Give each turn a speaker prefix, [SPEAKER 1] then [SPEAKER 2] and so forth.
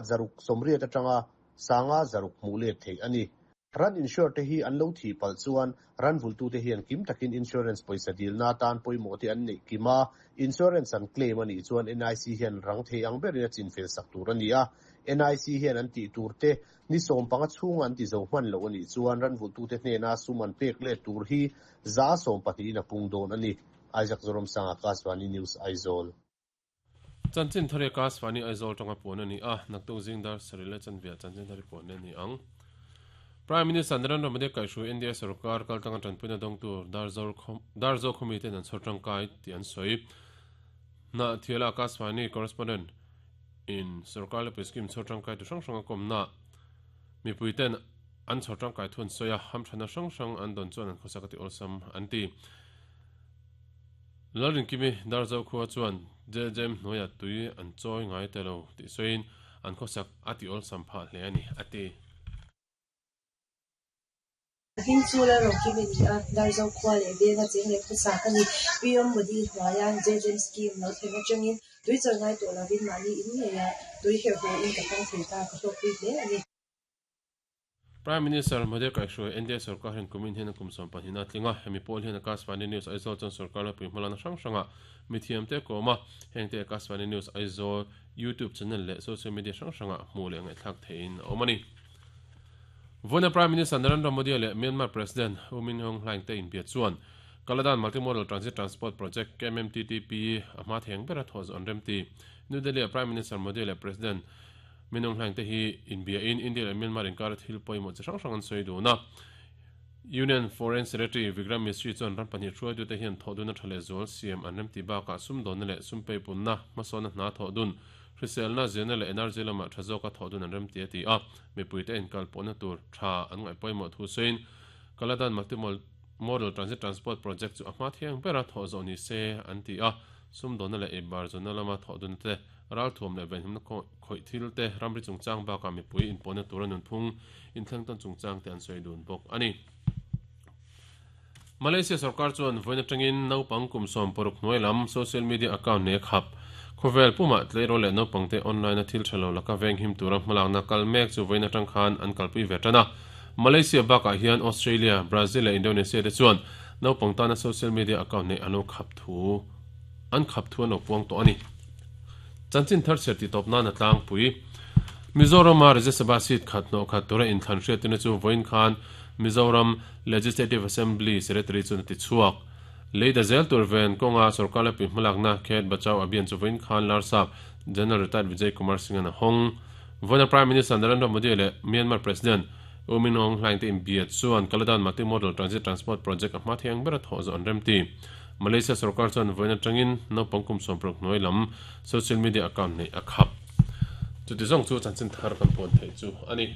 [SPEAKER 1] 680 atanga 500 hmuh let theih a ni. Ran insure te hi an lo thih palh chuan ran vultute hian kim takin insurance pawisa dilna atan pawimawh te an neih kim a, insurance an claim a nih chuan NIC hian rang thei ang berin a chinfel sak tur a ni a. NIC hian an tih tur te ni 15 chhunga an ti zo hman loh a nih chuan ran vultute hnena sum an pek let tur hi 12% in a pung dawn a ni. Isaac Zoramsanga, Akashvani News, Aizawl.
[SPEAKER 2] Chanchin thar hi Akashvani Aizawl tanga puan a ni a, naktuk zing dar sarih leh chanve ah chanchin thar hi puan leh a ni ang. Prime Minister Narendra Modi kaihhruai India sorkar kaltlanga tanpuina dawngtu Darzo khawmi ten an chhawr tangkai tih an sawi. Hnahthiala Akashvani correspondent in sorkar lepui scheme chhawr tangkai tu hrang hrang a kawmna mipui ten an chhawr tangkai thu an sawi a, hamthana hrang hrang an dawn chuan an khawsak a ti awlsam an ti. Lalrinkimi Darzo khua chuan JJM hnuaiah tui an chawi ngai ta lo tih sawiin an khawsak a ti awlsam phah hle a ni, a ti.
[SPEAKER 3] Hming chu Lalrinkimi ni a, Darzo khua leh venga cheng leh khawsa ka ni. PM Modi hnuaia JJM scheme lo thlen atangin tui chawi ngai tawh lovin mahni in ngeia tui herh haw in ka hmang thei ta, ka hlawkpui hle a ni.
[SPEAKER 2] Prime Minister Modi kaihhruai NDA sorkar hian kumin hian a kum 12 a tling a, hemi pawl hian Akashvani News Aizawl chuan sorkar ropui hmalakna hrang hrangah mithiamte a kawm a, hengte Akashvani News Aizawl YouTube channel leh social media hrang hrangah hmuh leh ngaihthlak theihin a awm a ni. Vawiina Prime Minister Narendra Modi leh Myanmar President U Min Aung Hlaing te inbia chuan Kaladan Multimodal Transit Transport Project, KMMTTP, a hma thei ang bera thawh zawh an remti. New Delhi-ah Prime Minister Modi leh President Minung hlaing te hi inbiain India leh Myanmar inkara thil pawimawh chi hrang hrang an sawi dun a. Union Foreign Secretary Vikram Misri chuan ram pahnih hruaitute hian thawhdun a tha leh zual siam an remti bakah sumdawnna leh sumpeipunna, hmasawnna hna thawhdun, hriselna, zirna leh energy lamah tha zawka thawhdun an remti a ti a. Mipuite inkalpawhna tur tha an ngaih pawimawh thu sawiin Kaladan Multi-Modal Transit Transport Project chu a hma thiang bera thawh zawh ni se an ti a. Sumdawnna leh eibar zawnna lama thawhdunna te Ralthuam leh venhimna khawih thil te, ramri chungchang bakah mipui inpawhna tura nunphung inthleng tawn chungchang te an sawi dun bawk a ni. Malaysia sorkar chuan vawiin atangin naupang kum 60 hnuai lam social media account nei a khap. Khawvel pumah tleirawl leh naupangte online-a thil tha lo laka venghim tura hmalakna kal mek chu vawiin atang khan an kalpui ve tan a. Malaysia bakah hian Australia, Brazil leh Indonesia te chuan naupang tana social media account nei an lo khap thu an khap thu an lo puang tawh a ni. Chanchin thar chhiar tih tawp nan a tlangpui. Mizorama Rajya Sabha seat khat hnawh khat tura inthlan hriattirna chu vawiin khan Mizoram Legislative Assembly Secretary chuan a ti chhuak. Leida zel tur ven kawnga sorkar lepui hmalakna Khet Bachao Abhiyan chu vawiin khan Larsap General Retired Vijay Kumar Singh-a'n a hawng. Vawiina Prime Minister Narendra Modi leh Myanmar President U Min Aung Hlaing te inbia chuan Kaladan Multi-Modal Transit Transport Project a hma thei ang bera thawh zawh an remti. Malaysia sorkar chuan vawiin atangin naupang kum 60 hnuai lam social media account neih a khap. Chuti zawng chu chanchin thar kan puan theih chu a ni.